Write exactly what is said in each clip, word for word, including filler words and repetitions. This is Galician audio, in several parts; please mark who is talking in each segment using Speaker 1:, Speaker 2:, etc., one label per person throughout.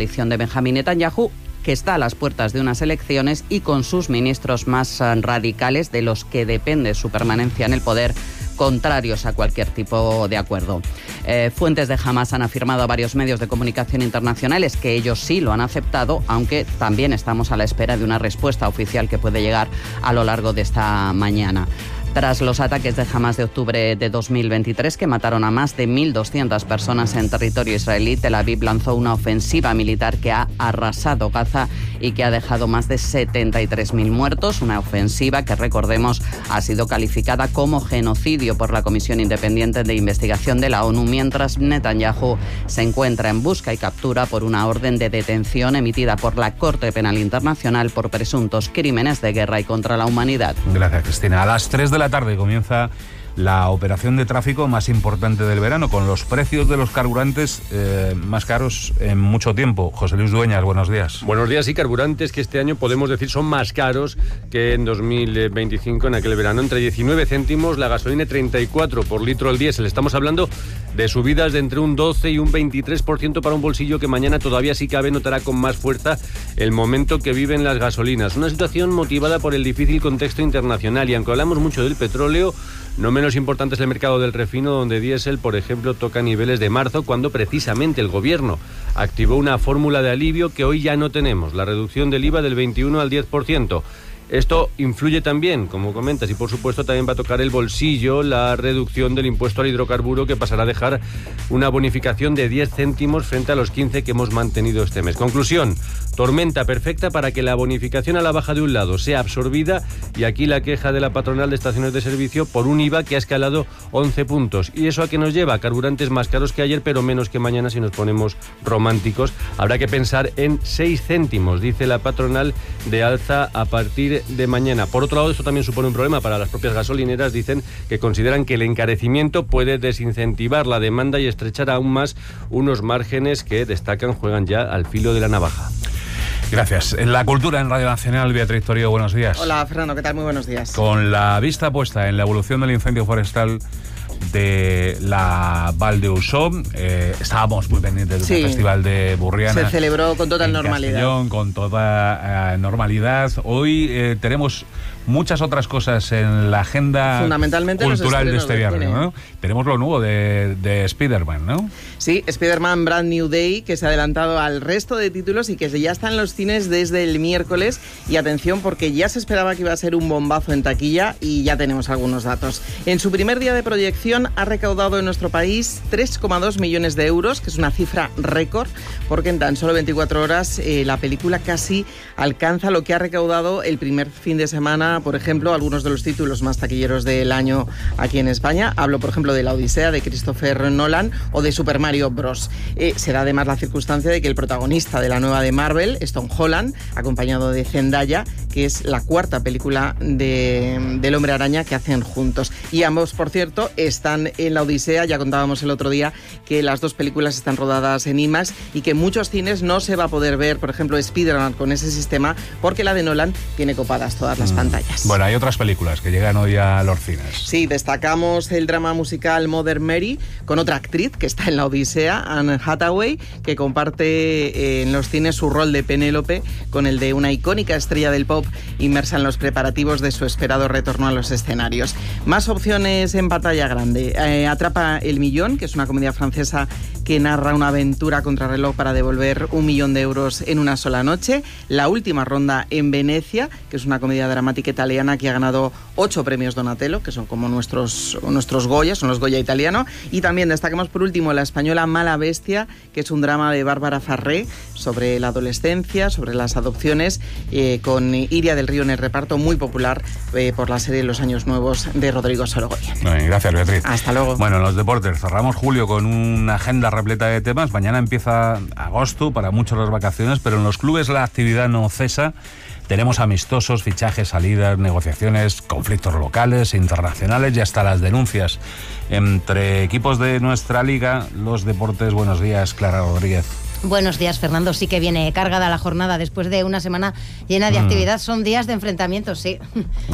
Speaker 1: coalición de Benjamín Netanyahu, que está a las puertas de unas elecciones y con sus ministros más radicales, de los que depende su permanencia en el poder, contrarios a cualquier tipo de acuerdo. Eh, fuentes de Hamás han afirmado a varios medios de comunicación internacionales que ellos sí lo han aceptado, aunque también estamos a la espera de una respuesta oficial que puede llegar a lo largo de esta mañana. Tras los ataques de Hamás de octubre de dos mil veintitrés, que mataron a más de mil doscientas personas en territorio israelí, Tel Aviv lanzó una ofensiva militar que ha arrasado Gaza y que ha dejado más de setenta y tres mil muertos. Una ofensiva que, recordemos, ha sido calificada como genocidio por la Comisión Independiente de Investigación de la ONU, mientras Netanyahu se encuentra en busca y captura por una orden de detención emitida por la Corte Penal Internacional por presuntos crímenes de guerra y contra la humanidad.
Speaker 2: Gracias, Cristina. A las tres de la tarde comienza la operación de tráfico más importante del verano, con los precios de los carburantes eh, más caros en mucho tiempo. José Luis Dueñas, buenos días.
Speaker 3: Buenos días. Y carburantes que este año podemos decir son más caros que en dos mil veinticinco, en aquel verano. Entre diecinueve céntimos la gasolina y treinta y cuatro por litro el diésel. Estamos hablando de subidas de entre un doce y un veintitrés por ciento para un bolsillo que mañana todavía, si cabe, notará con más fuerza el momento que viven las gasolinas. Una situación motivada por el difícil contexto internacional. Y aunque hablamos mucho del petróleo, no menos importante es el mercado del refino, donde diésel, por ejemplo, toca niveles de marzo, cuando precisamente el gobierno activó una fórmula de alivio que hoy ya no tenemos, la reducción del I V A del veintiuno al diez por ciento. Esto influye también, como comentas, y por supuesto también va a tocar el bolsillo la reducción del impuesto al hidrocarburo, que pasará a dejar una bonificación de diez céntimos frente a los quince que hemos mantenido este mes. Conclusión, tormenta perfecta para que la bonificación a la baja de un lado sea absorbida, y aquí la queja de la patronal de estaciones de servicio por un I V A que ha escalado once puntos. ¿Y eso a qué nos lleva? Carburantes más caros que ayer, pero menos que mañana si nos ponemos románticos. Habrá que pensar en seis céntimos, dice la patronal, de alza a partir de mañana. Por otro lado, esto también supone un problema para las propias gasolineras. Dicen que consideran que el encarecimiento puede desincentivar la demanda y estrechar aún más unos márgenes que, destacan, juegan ya al filo de la navaja.
Speaker 2: Gracias. En la cultura en Radio Nacional, Beatriz Torío, buenos días.
Speaker 4: Hola, Fernando, ¿qué tal? Muy buenos días.
Speaker 2: Con la vista puesta en la evolución del incendio forestal de la Val de Uxó, eh, estábamos muy pendientes del
Speaker 4: sí.
Speaker 2: Festival de Burriana.
Speaker 4: Se celebró con total normalidad.
Speaker 2: Castellón, con toda eh, normalidad. Hoy eh, tenemos muchas otras cosas en la agenda cultural de este viernes, ¿no? Tenemos lo nuevo de, de Spider-Man, ¿no?
Speaker 4: Sí, Spider-Man Brand New Day, que se ha adelantado al resto de títulos y que ya está en los cines desde el miércoles. Y atención, porque ya se esperaba que iba a ser un bombazo en taquilla y ya tenemos algunos datos. En su primer día de proyección ha recaudado en nuestro país tres coma dos millones de euros, que es una cifra récord, porque en tan solo veinticuatro horas eh, la película casi alcanza lo que ha recaudado el primer fin de semana, por ejemplo, algunos de los títulos más taquilleros del año aquí en España. Hablo, por ejemplo, de La Odisea, de Christopher Nolan, o de Super Mario Bros. Eh, se da además la circunstancia de que el protagonista de la nueva de Marvel es Tom Holland, acompañado de Zendaya, que es la cuarta película de, del Hombre Araña que hacen juntos. Y ambos, por cierto, están en La Odisea. Ya contábamos el otro día que las dos películas están rodadas en IMAX y que en muchos cines no se va a poder ver, por ejemplo, Spider-Man con ese sistema, porque la de Nolan tiene copadas todas las mm. pantallas.
Speaker 2: Bueno, hay otras películas que llegan hoy a los cines.
Speaker 4: Sí, destacamos el drama musical Mother Mary, con otra actriz que está en La Odisea, Anne Hathaway, que comparte en los cines su rol de Penélope con el de una icónica estrella del pop inmersa en los preparativos de su esperado retorno a los escenarios. Más opciones en pantalla grande. Eh, Atrapa el millón, que es una comedia francesa que narra una aventura contrarreloj para devolver un millón de euros en una sola noche. La última ronda en Venecia, que es una comedia dramática italiana que ha ganado ocho premios Donatello, que son como nuestros, nuestros Goya, son los Goya italianos. Y también destacamos por último la española Mala Bestia, que es un drama de Bárbara Farré sobre la adolescencia, sobre las adopciones, eh, con Iria del Río en el reparto, muy popular eh, por la serie Los Años Nuevos de Rodrigo Sorogoyen.
Speaker 2: Bien, gracias, Beatriz.
Speaker 4: Hasta luego.
Speaker 2: Bueno, en los deportes cerramos julio con una agenda repleta de temas. Mañana empieza agosto, para muchos las vacaciones, pero en los clubes la actividad no cesa. Tenemos amistosos, fichajes, salidas, negociaciones, conflictos locales, internacionales y hasta las denuncias entre equipos de nuestra liga. Los deportes, buenos días, Clara Rodríguez.
Speaker 5: Buenos días, Fernando. Sí que viene cargada la jornada después de una semana llena de mm. actividad. Son días de enfrentamientos, sí.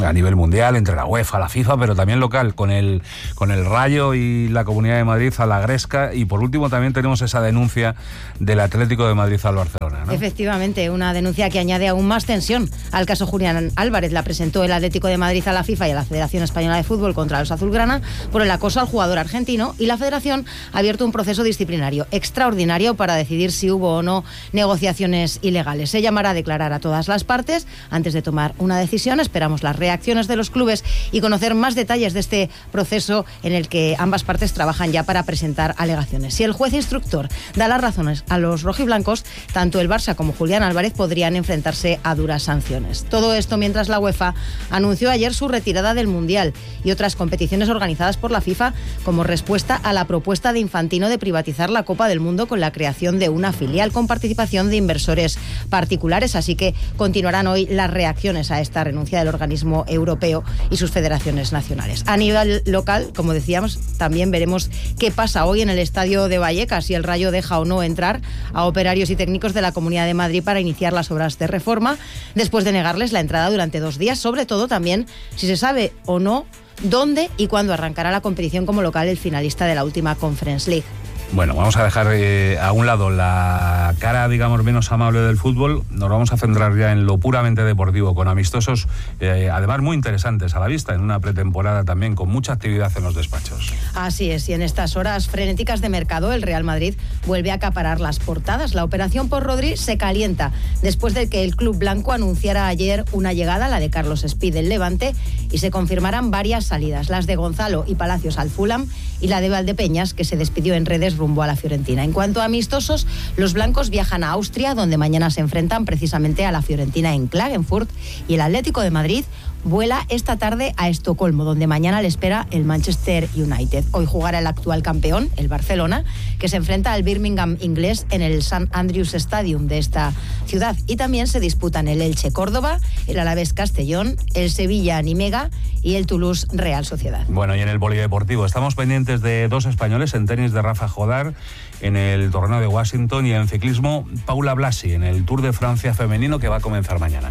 Speaker 2: A nivel mundial, entre la UEFA, la FIFA, pero también local, con el, con el Rayo y la Comunidad de Madrid a la Gresca. Y por último también tenemos esa denuncia del Atlético de Madrid al Barcelona, ¿no?
Speaker 5: Efectivamente, una denuncia que añade aún más tensión al caso Julián Álvarez. La presentó el Atlético de Madrid a la FIFA y a la Federación Española de Fútbol contra los azulgrana por el acoso al jugador argentino, y la Federación ha abierto un proceso disciplinario extraordinario para decidir si hubo o no negociaciones ilegales. Se llamará a declarar a todas las partes antes de tomar una decisión. Esperamos las reacciones de los clubes y conocer más detalles de este proceso en el que ambas partes trabajan ya para presentar alegaciones. Si el juez instructor da las razones a los rojiblancos, tanto el Barça como Julián Álvarez podrían enfrentarse a duras sanciones. Todo esto mientras la UEFA anunció ayer su retirada del Mundial y otras competiciones organizadas por la FIFA como respuesta a la propuesta de Infantino de privatizar la Copa del Mundo con la creación de una filial con participación de inversores particulares. Así que continuarán hoy las reacciones a esta renuncia del organismo europeo y sus federaciones nacionales. A nivel local, como decíamos, también veremos qué pasa hoy en el estadio de Vallecas, si el Rayo deja o no entrar a operarios y técnicos de la Comunidad de Madrid para iniciar las obras de reforma, después de negarles la entrada durante dos días, sobre todo también si se sabe o no dónde y cuándo arrancará la competición como local el finalista de la última Conference League.
Speaker 2: Bueno, vamos a dejar eh, a un lado la cara, digamos, menos amable del fútbol. Nos vamos a centrar ya en lo puramente deportivo, con amistosos, eh, además muy interesantes a la vista, en una pretemporada también con mucha actividad en los despachos.
Speaker 5: Así es, y en estas horas frenéticas de mercado, el Real Madrid vuelve a acaparar las portadas. La operación por Rodri se calienta después de que el club blanco anunciara ayer una llegada, la de Carlos Espí del Levante, y se confirmarán varias salidas, las de Gonzalo y Palacios al Fulham y la de Valdepeñas, que se despidió en redes rumbo a la Fiorentina. En cuanto a amistosos, los blancos viajan a Austria, donde mañana se enfrentan precisamente a la Fiorentina en Klagenfurt, y el Atlético de Madrid vuela esta tarde a Estocolmo, donde mañana le espera el Manchester United. Hoy jugará el actual campeón, el Barcelona, que se enfrenta al Birmingham inglés en el Saint Andrews Stadium de esta ciudad. Y también se disputan el Elche Córdoba, el Alavés Castellón, el Sevilla Nimega y el Toulouse Real Sociedad.
Speaker 2: Bueno, y en el polideportivo estamos pendientes de dos españoles: en tenis de Rafa Jodar en el torneo de Washington, y en ciclismo Paula Blasi en el Tour de Francia femenino, que va a comenzar mañana.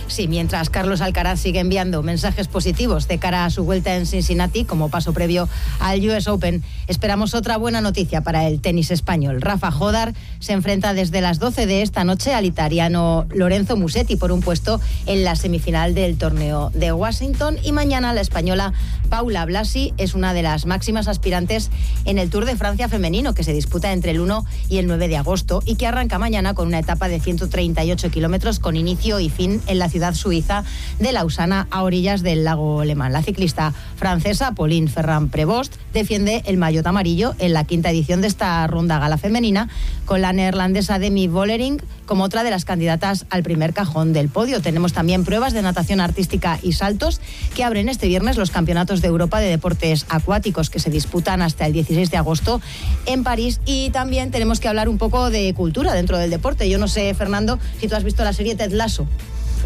Speaker 5: Sí, mientras Carlos Alcaraz sigue enviando mensajes positivos de cara a su vuelta en Cincinnati como paso previo al U S Open, esperamos otra buena noticia para el tenis español. Rafa Jodar se enfrenta desde las doce de esta noche al italiano Lorenzo Musetti por un puesto en la semifinal del torneo de Washington, y mañana la española Paula Blasi es una de las máximas aspirantes en el Tour de Francia femenino, que se disputa entre el uno y el nueve de agosto y que arranca mañana con una etapa de ciento treinta y ocho kilómetros con inicio y fin en la ciudad suiza de Lausana, a orillas del lago Lemán. La ciclista francesa Pauline Ferrand-Prévost defiende el maillot amarillo en la quinta edición de esta ronda gala femenina, con la neerlandesa Demi Vollering como otra de las candidatas al primer cajón del podio. Tenemos también pruebas de natación artística y saltos que abren este viernes los campeonatos de Europa de deportes acuáticos, que se disputan hasta el dieciséis de agosto en París. Y también tenemos que hablar un poco de cultura dentro del deporte. Yo no sé, Fernando, si tú has visto la serie Ted Lasso.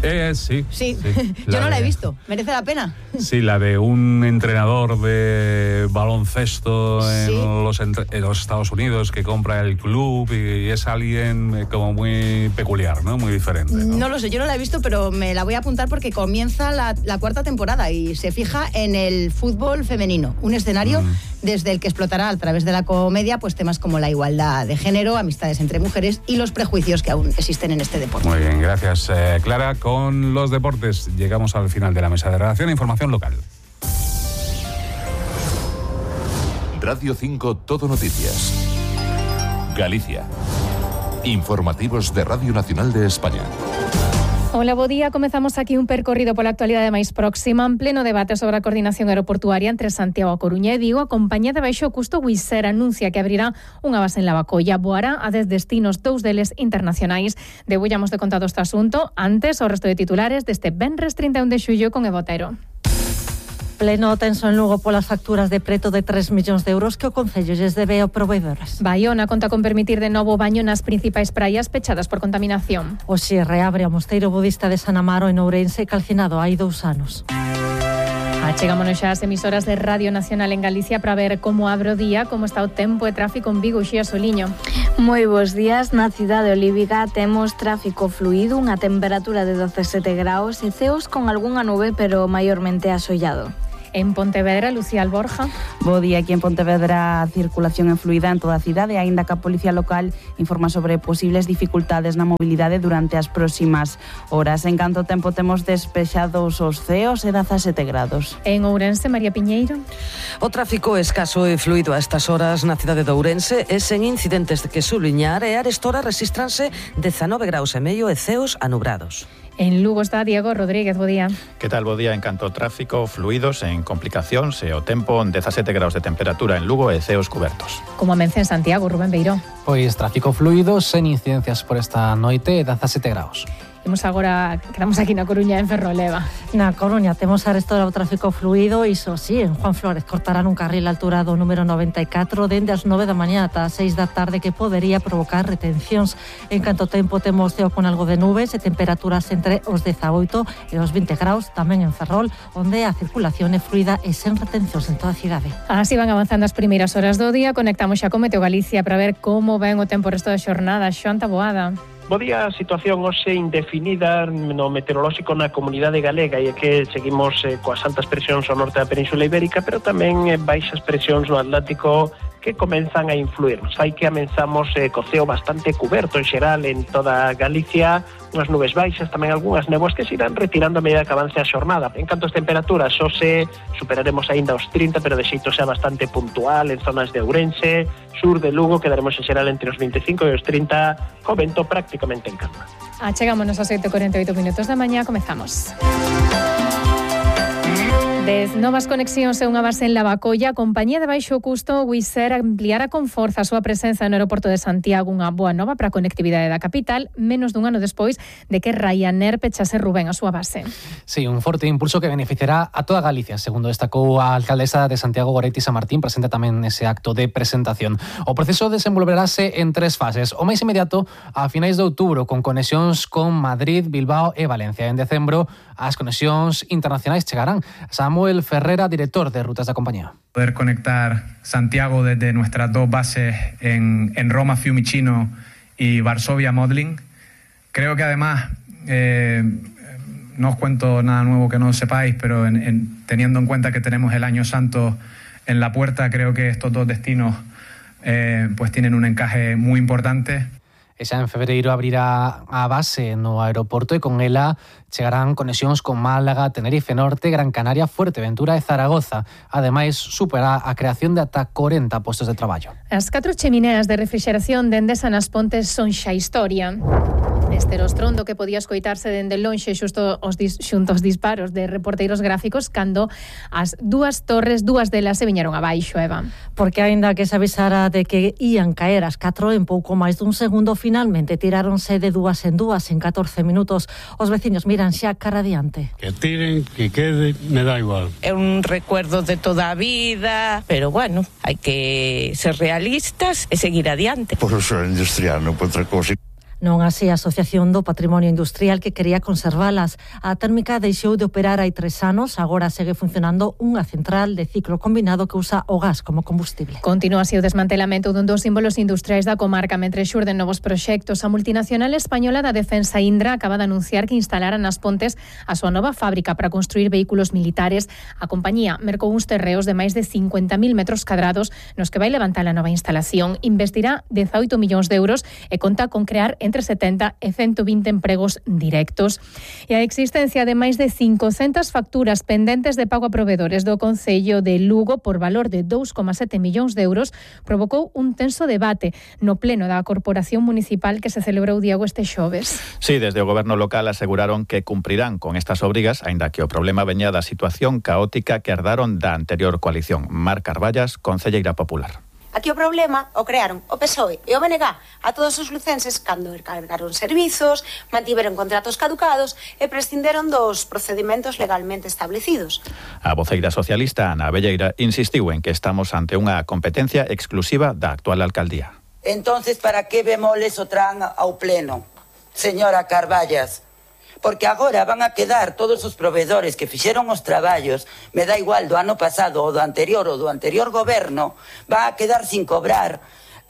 Speaker 2: Eh, sí.
Speaker 5: Sí,
Speaker 2: sí.
Speaker 5: Yo
Speaker 2: La
Speaker 5: no la he
Speaker 2: de-
Speaker 5: visto. ¿Merece la pena?
Speaker 2: Sí, la de un entrenador de baloncesto en,
Speaker 5: Sí.
Speaker 2: los, entre- en los Estados Unidos que compra el club, y, y es alguien eh, como muy peculiar, ¿no? Muy diferente, ¿no?
Speaker 5: No lo sé, yo no la he visto, pero me la voy a apuntar porque comienza la, la cuarta temporada y se fija en el fútbol femenino, un escenario
Speaker 2: Mm.
Speaker 5: desde el que explotará a través de la comedia pues temas como la igualdad de género, amistades entre mujeres y los prejuicios que aún existen en este deporte.
Speaker 2: Muy bien, gracias, eh, Clara. Con los deportes llegamos al final de la mesa de redacción. Información local.
Speaker 6: Radio cinco Todo Noticias. Galicia. Informativos de Radio Nacional de España.
Speaker 7: Hola, bo día. Comezamos aquí un percorrido pola actualidade máis próxima en pleno debate sobre a coordinación aeroportuaria entre Santiago, A Coruña e Vigo. A compañía de baixo custo Wizz Air anuncia que abrirá unha base en Lavacolla. Voará a dez destinos, dous deles internacionais. Debullamos de contado este asunto. Antes, o resto de titulares deste venres trinta e un de xullo con Evo Otero.
Speaker 8: Pleno tenso en Lugo polas facturas de preto de tres millóns de euros que o Concello lles debe ao proveedores.
Speaker 7: Baiona conta con permitir de novo o baño nas principais praias pechadas por contaminación.
Speaker 8: Hoxe reabre o mosteiro budista de San Amaro en Ourense, calcinado hai dous anos.
Speaker 7: Achegámonos xa ás emisoras de Radio Nacional en Galicia para ver como abre o día, como está o tempo e tráfico en Vigo. Xía Soliño.
Speaker 9: Moi bons días. Na cidade olívica temos tráfico fluido, unha temperatura de dezasete graus e ceos con algunha nube, pero maiormente asollado.
Speaker 7: En Pontevedra, Lucía Alborja.
Speaker 10: Bo día, aquí en Pontevedra a circulación é fluida en toda a cidade, aínda que a Policía Local informa sobre posibles dificultades na mobilidade durante as próximas horas. En canto tempo temos despexados os ceos e dezasete grados.
Speaker 7: En Ourense, María Piñeiro.
Speaker 11: O tráfico é escaso e fluido a estas horas na cidade de Ourense e sen incidentes de que subliñar, e a esta hora rexistranse dezanove graus e medio e ceos anubrados.
Speaker 7: En Lugo está Diego Rodríguez, bo día.
Speaker 12: Que tal, bo día? En canto ao tráfico, fluidos, en complicacións e o tempo, dezasete graus de temperatura en Lugo e ceos cubertos.
Speaker 7: Como amence en Santiago, Rubén Beiró.
Speaker 13: Pois tráfico fluido, sen incidencias por esta noite, dezasete graus.
Speaker 7: Imos agora, quedamos aquí na Coruña, en Ferroleva.
Speaker 8: Na Coruña temos a restaurado o tráfico fluido, iso sí, en Juan Flórez cortarán un carril a altura do número noventa e catro dende as nove da mañá ata as seis da tarde, que podería provocar retencións. En canto tempo temos ceo con algo de nubes e temperaturas entre os dezaoito e os vinte graus, tamén en Ferrol, onde a circulación é fluida e sen retencións en toda a cidade.
Speaker 7: Así van avanzando as primeiras horas do día. Conectamos xa con Meteo Galicia para ver como ven o tempo o resto da xornada. Xoan Taboada.
Speaker 14: Bo día, situación hoxe indefinida no meteorolóxico na comunidade galega, e é que seguimos eh, coas altas presións ao norte da Península Ibérica, pero tamén eh, baixas presións no Atlántico que comenzan a influir. Hai que amenzamos eh, co ceo bastante cuberto en xeral en toda Galicia, unhas nubes baixas, tamén algunhas néboas que se irán retirando a medida que avance a xornada. En canto ás temperaturas, hoxe superaremos aínda os trinta, pero de xeito xa bastante puntual en zonas de Ourense, sur de Lugo, quedaremos en xeral entre os vinte e cinco e os trinta, co vento prácticamente en calma.
Speaker 7: Achegámonos aos oito e cuarenta e oito minutos da mañá, comezamos. Dez novas conexións e unha base en Lavacolla, a compañía de baixo custo Wizz Air ampliará con forza a súa presenza no aeroporto de Santiago, unha boa nova para a conectividade da capital, menos dun ano despois de que Ryanair pechase, Rubén, a súa base.
Speaker 13: Sí, un forte impulso que beneficiará a toda Galicia, segundo destacou a alcaldesa de Santiago, Goretti Samartín, presente tamén nese acto de presentación. O proceso desenvolverase en tres fases. O máis inmediato, a finais de outubro, con conexións con Madrid, Bilbao e Valencia. En decembro, as conexións internacionais chegarán. Samuel Ferrera, director de rutas da compañía.
Speaker 15: Poder conectar Santiago desde nuestras dos bases en, en Roma, Fiumicino y Varsovia, Modlin. Creo que además, eh, no os cuento nada nuevo que no sepáis, pero en, en, teniendo en cuenta que tenemos el Año Santo en la puerta, creo que estos dos destinos eh, pues tienen un encaje muy importante.
Speaker 13: E xa en febreiro abrirá a base no aeroporto e con ela chegarán conexións con Málaga, Tenerife Norte, Gran Canaria, Fuerteventura e Zaragoza. Ademais, supera a creación de ata corenta postos de traballo.
Speaker 7: As catro chemineas de refrigeración de Endesa nas Pontes son xa historia. Este era o estrondo que podía escoitarse dende lonxe xusto os dis, xunto aos disparos de reporteiros gráficos cando as dúas torres, dúas delas se viñeron abaixo, Eva.
Speaker 8: Porque aínda que se avisara de que ían caer as catro en pouco máis dun segundo, finalmente tiráronse de dúas en dúas en catorce minutos. Os veciños miran xa cara adiante.
Speaker 16: Que tiren, que quede, me da igual.
Speaker 17: É un recuerdo de toda a vida, pero bueno, hai que ser realistas e seguir adiante.
Speaker 18: Por o ser industrial, non por outra cousa.
Speaker 8: Non así a Asociación do Patrimonio Industrial, que quería conservalas. A térmica deixou de operar hai tres anos, agora segue funcionando unha central de ciclo combinado que usa o gas como combustible.
Speaker 7: Continúa así o desmantelamento dun dos símbolos industriais da comarca mentre xurden novos proxectos. A multinacional española da defensa Indra acaba de anunciar que instalará nas Pontes a súa nova fábrica para construir vehículos militares. A compañía mercou uns terreos de máis de cincuenta mil metros cadrados nos que vai levantar a nova instalación. Investirá dezaoito millóns de euros e conta con crear entre setenta e ciento vinte empregos directos. E a existencia de máis de cincocentas facturas pendentes de pago a provedores do Concello de Lugo por valor de dous coma sete millóns de euros provocou un tenso debate no pleno da Corporación Municipal que se celebrou, Diego, este xoves.
Speaker 12: Sí, desde o goberno local aseguraron que cumprirán con estas obrigas, aínda que o problema veña da situación caótica que herdaron da anterior coalición. Mar Carballas, concelleira popular.
Speaker 19: Aquí o problema o crearon o P S O E e o B N G a todos os lucenses cando encargaron servizos, mantiveron contratos caducados e prescinderon dos procedimentos legalmente establecidos.
Speaker 12: A voceira socialista Ana Abelleira insistiu en que estamos ante unha competencia exclusiva da actual alcaldía.
Speaker 20: Entonces, para que bemoles o tran ao pleno, señora Carballas? porque agora van a quedar todos os proveedores que fixeron os traballos, me dá igual do ano pasado ou do anterior ou do anterior goberno, van a quedar sin cobrar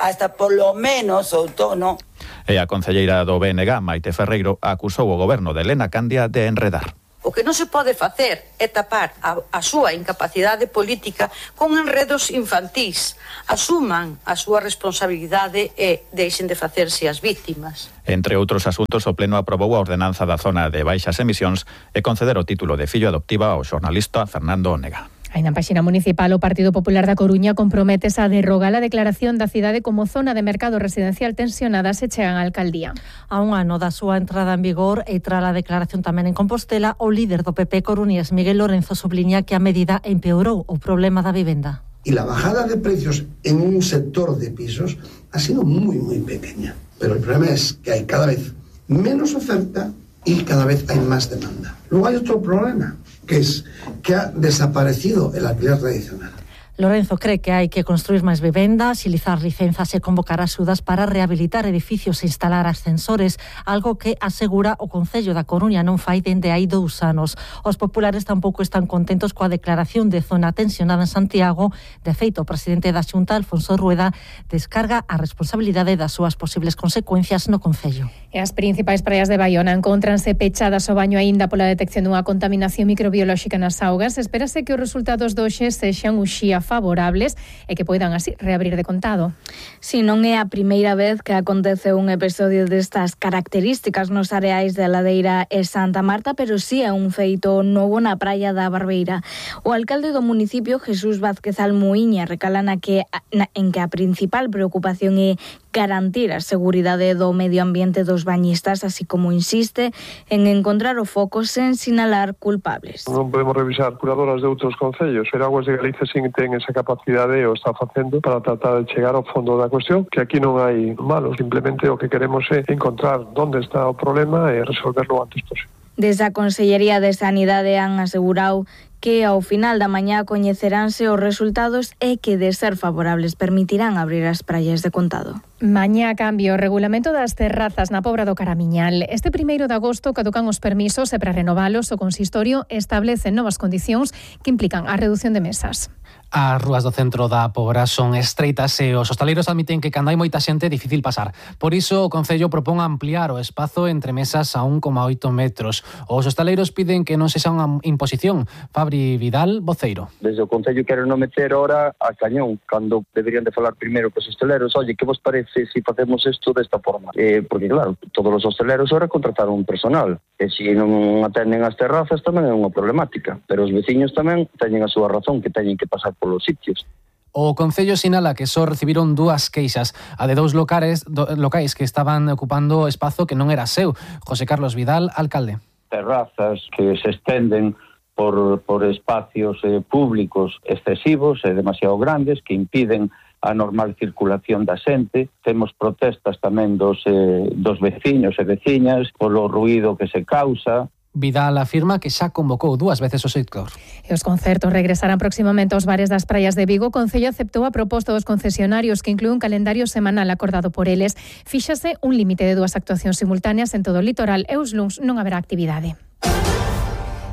Speaker 20: hasta polo menos outono.
Speaker 12: E a concelleira do B N G, Maite Ferreiro, acusou o goberno de Elena Candia de enredar.
Speaker 21: O que non se pode facer é tapar a, a súa incapacidade política con enredos infantís. Asuman a súa responsabilidade e deixen de facerse as vítimas.
Speaker 12: Entre outros asuntos, o Pleno aprobou a ordenanza da zona de baixas emisións e conceder o título de fillo adoptiva ao xornalista Fernando Onega.
Speaker 7: Aí na páxina municipal, o Partido Popular da Coruña comprométese a derrogar a declaración da cidade como zona de mercado residencial tensionada se chegan á alcaldía.
Speaker 8: A un ano da súa entrada en vigor e tras a declaración tamén en Compostela, o líder do P P coruñés, Miguel Lorenzo, subliña que a medida empeorou o problema da vivenda.
Speaker 22: Y la bajada de precios en un sector de pisos ha sido muy, muy pequeña. Pero el problema es que hay cada vez menos oferta y cada vez hay más demanda. Luego hay otro problema, que es que ha desaparecido el alquiler tradicional.
Speaker 8: Lorenzo cree que hai que construir máis vivendas, xilizar licenzas e convocar axudas para rehabilitar edificios e instalar ascensores, algo que asegura o Concello da Coruña non fai dende hai dous anos. Os populares tampouco están contentos coa declaración de zona tensionada en Santiago. De feito, o presidente da Xunta, Alfonso Rueda, descarga a responsabilidade das súas posibles consecuencias no Concello.
Speaker 7: E as principais praias de Baiona encóntranse pechadas ao baño aínda pola detección dunha contaminación microbiolóxica nas augas. Espérase que os resultados do hoxe sexan uxía favorables e que poidan así reabrir de contado.
Speaker 9: Si non é a primeira vez que acontece un episodio destas características nos areais de Ladeira e Santa Marta, pero si é un feito novo na praia da Barbeira. O alcalde do municipio, Jesús Vázquez Almuíña, recala na que, na, en que a principal preocupación é garantir a seguridade do medio ambiente dos bañistas, así como insiste en encontrar o foco sen sinalar culpables.
Speaker 23: Non podemos revisar curadoras de outros concellos, pero Aguas de Galicia sin ten esa capacidade e o está facendo para tratar de chegar ao fondo da cuestión, que aquí non hai malos, simplemente o que queremos é encontrar onde está o problema e resolverlo antes posible.
Speaker 9: Desde a Consellería de Sanidade han asegurado que ao final da mañá coñeceránse os resultados e que, de ser favorables, permitirán abrir as praias de contado.
Speaker 7: Mañá cambio o regulamento das terrazas na Pobra do Caramiñal. Este primeiro de agosto caducan os permisos e para renovalos o consistorio establece novas condicións que implican a reducción de mesas.
Speaker 13: As rúas do centro da Pobra son estreitas e os hostaleiros admiten que cando hai moita xente é difícil pasar. Por iso o Concello propón ampliar o espazo entre mesas a un coma oito metros. Os hostaleiros piden que non sexa unha imposición. Fabri Vidal, voceiro.
Speaker 24: Desde o Concello quero non meter ahora a cañón, cando deberían de falar primeiro cos hostaleiros. Oye, que vos parece se si facemos isto desta forma? Eh, porque claro, todos os hostaleiros ahora contrataron un personal. E se non atenden as terrazas tamén é unha problemática. Pero os veciños tamén teñen a súa razón, que teñen que pasar polos sitios.
Speaker 13: O Concello sinala que só recibiron dúas queixas, a de dous locales, do, locais que estaban ocupando espazo que non era seu. José Carlos Vidal, alcalde.
Speaker 25: Terrazas que se estenden por, por espacios eh, públicos excesivos e demasiado grandes que impiden a normal circulación da xente. Temos protestas tamén dos, eh, dos veciños e veciñas polo ruído que se causa.
Speaker 13: Vidal afirma que xa convocou dúas veces o sector.
Speaker 7: E os concertos regresarán próximamente aos bares das praias de Vigo. O Concello aceptou a proposta dos concesionarios que inclúe un calendario semanal acordado por eles. Fíxase un límite de dúas actuacións simultáneas en todo o litoral e os luns non haberá actividade.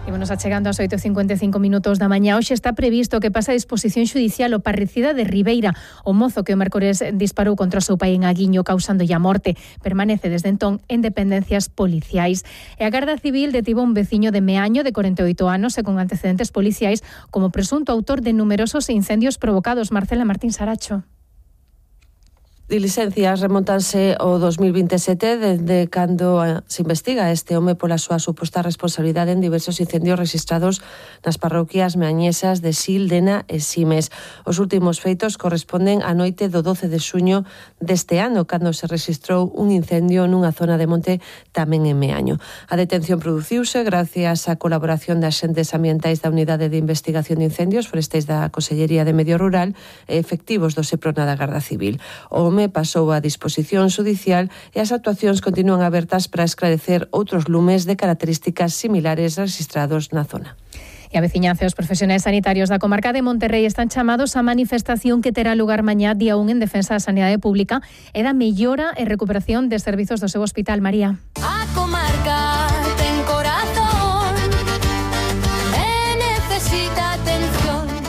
Speaker 7: Ímonos achegando ás oito e cincuenta e cinco minutos da mañá. Hoxe está previsto que pase a disposición xudicial o parricida de Ribeira. O mozo que o mércores disparou contra o seu pai en Aguiño causándolle a morte permanece desde entón en dependencias policiais. E a Garda Civil detivo un veciño de Meaño de corenta e oito anos e con antecedentes policiais como presunto autor de numerosos incendios provocados. Marcela Martín Saracho.
Speaker 26: Diligencias remontanse ao dos mil vinte e sete, desde cando se investiga este home pola súa suposta responsabilidade en diversos incendios registrados nas parroquias meañesas de Sil, Dena e Simes. Os últimos feitos corresponden á noite do doce de xuño deste ano, cando se registrou un incendio nunha zona de monte tamén en Meaño. A detención produciuse gracias á colaboración de axentes ambientais da Unidade de Investigación de Incendios Forestais da Consellería de Medio Rural e efectivos do Seprona da Garda Civil. O pasou a disposición xudicial e as actuacións continúan abertas para esclarecer outros lumes de características similares registrados na zona.
Speaker 7: E a veciñanza e os profesionais sanitarios da comarca de Monterrei están chamados á manifestación que terá lugar mañá día un en defensa da sanidade pública e da mellora e recuperación de servizos do seu hospital. María.
Speaker 27: A comarca ten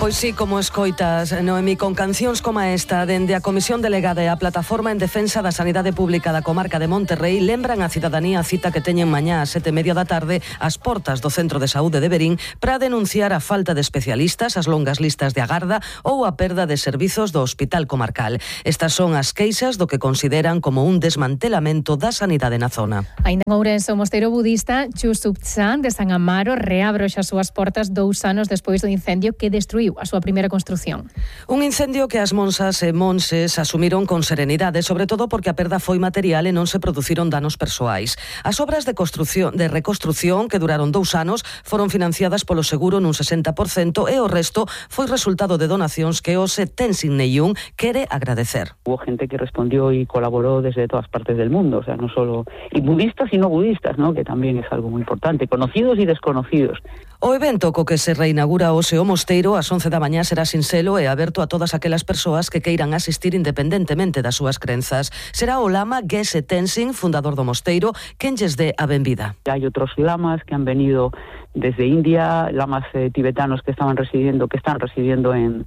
Speaker 11: Pois sí, como escoitas, Noemí, con cancións como esta, dende a Comisión Delegada e a Plataforma en Defensa da Sanidade Pública da Comarca de Monterrey, lembran a cidadanía a cita que teñen mañá ás sete e media da tarde ás portas do Centro de Saúde de Verín para denunciar a falta de especialistas, as longas listas de agarda ou a perda de servizos do Hospital Comarcal. Estas son as queixas do que consideran como un desmantelamento da sanidade na zona.
Speaker 7: Ainda en Ourense, o mosteiro budista Chusupchan de San Amaro reabre as súas portas dous anos despois do incendio que destruiu a súa primeira construción.
Speaker 11: Un incendio que as monsas e monses asumiron con serenidade, sobre todo porque a perda foi material e non se produciron danos persoais. As obras de construción, de reconstrución que duraron dous anos foron financiadas polo seguro nun sesenta por cento e o resto foi resultado de donacións que o Tenzin Neyun quere agradecer.
Speaker 1: Hubo gente que respondió y colaboró desde todas partes del mundo, o sea, no solo y budistas y no budistas, ¿no? Que también es algo muy importante, conocidos y desconocidos.
Speaker 11: O evento co que se reinaugura hoxe o mosteiro ás once da mañá será sinxelo e aberto a todas aquelas persoas que queiran asistir independentemente das súas crenzas. Será o lama Geshe Tenzin, fundador do mosteiro, quen lles dé a benvida.
Speaker 1: Hay otros lamas que han venido desde India, lamas eh, tibetanos que estaban residiendo, que están residiendo en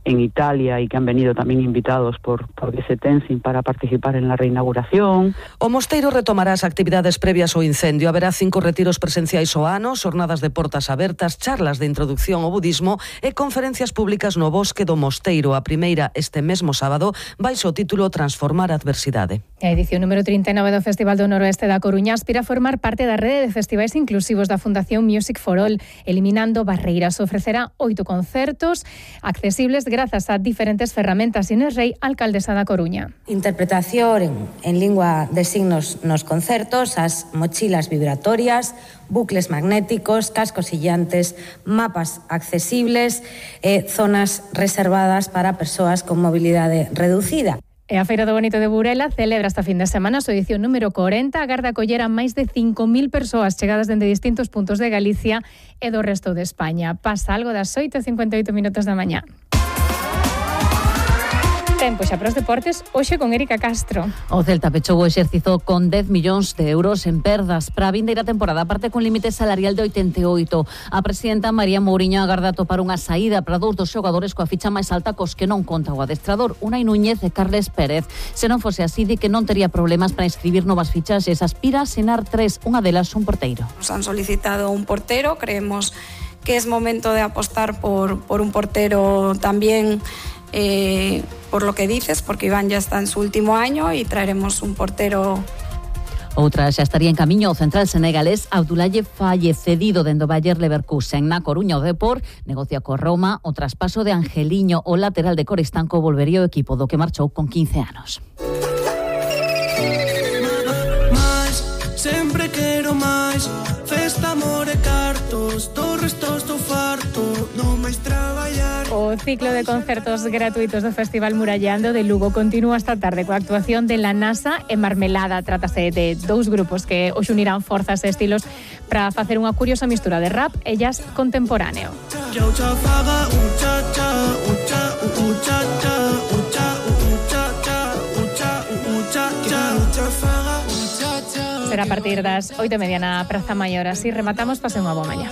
Speaker 1: en Italia y que han venido también invitados por, por Geshe Tenzin para participar en la reinauguración.
Speaker 11: O mosteiro retomará as actividades previas ao incendio. Haberá cinco retiros presenciais ao ano, xornadas de portas abertas, charlas de introducción ao budismo e conferencias públicas no bosque do mosteiro. A primeira este mesmo sábado baixo o título Transformar a adversidade.
Speaker 7: A edición número trinta e nove do Festival do Noroeste da Coruña aspira a formar parte da rede de festivais inclusivos da Fundación Music for All, eliminando barreiras. Ofrecerá oito concertos accesibles grazas a diferentes ferramentas. Inés Rey, alcaldesa da Coruña.
Speaker 2: Interpretación en, en lingua de signos nos concertos, as mochilas vibratorias, bucles magnéticos, cascos sillantes, mapas accesibles e zonas reservadas para persoas con mobilidade reducida.
Speaker 7: E a Feira do Bonito de Burela celebra esta fin de semana a súa edición número corenta, agarda acoller a máis de cinco mil persoas chegadas dende distintos puntos de Galicia e do resto de España. Pasa algo das oito e cincuenta e oito minutos da mañá. Tempo xa para os deportes, hoxe con Erika Castro.
Speaker 3: O Celta pechou o exercizo con dez millóns de euros en perdas para a vindeira temporada, aparte con límite salarial de oitenta e oito. A presidenta María Mouriño agarda topar unha saída para dous dos xogadores coa ficha máis alta cos que non conta o adestrador, Unai Núñez e Carles Pérez. Se non fose así, di que non tería problemas para inscribir novas fichaxes. Aspira a asenar tres, unha delas un porteiro.
Speaker 4: Nos han solicitado un portero, creemos que es momento de apostar por, por un portero también... Eh, por lo que dices, porque Iván ya está en su último año y traeremos un portero.
Speaker 3: Outra xa estaría en camiño o central senegalés Abdoulaye Faye, cedido dende o Bayer Leverkusen. Na Coruña o Depor negocia co Roma o traspaso de Angeliño, o lateral de Coristanco volvería ao equipo do que marchou con quince anos.
Speaker 5: Mais, sempre quero máis, festa, amor e cartos, do resto estou farto, non máis traballar.
Speaker 7: O ciclo de concertos gratuitos do Festival Murallando de Lugo continúa esta tarde coa actuación de La Nasa e Marmelada. Trátase de dous grupos que os unirán forzas e estilos para facer unha curiosa mistura de rap e jazz contemporáneo. Será a partir das oito e media na Praza Maior. Así rematamos, pase unha boa mañá.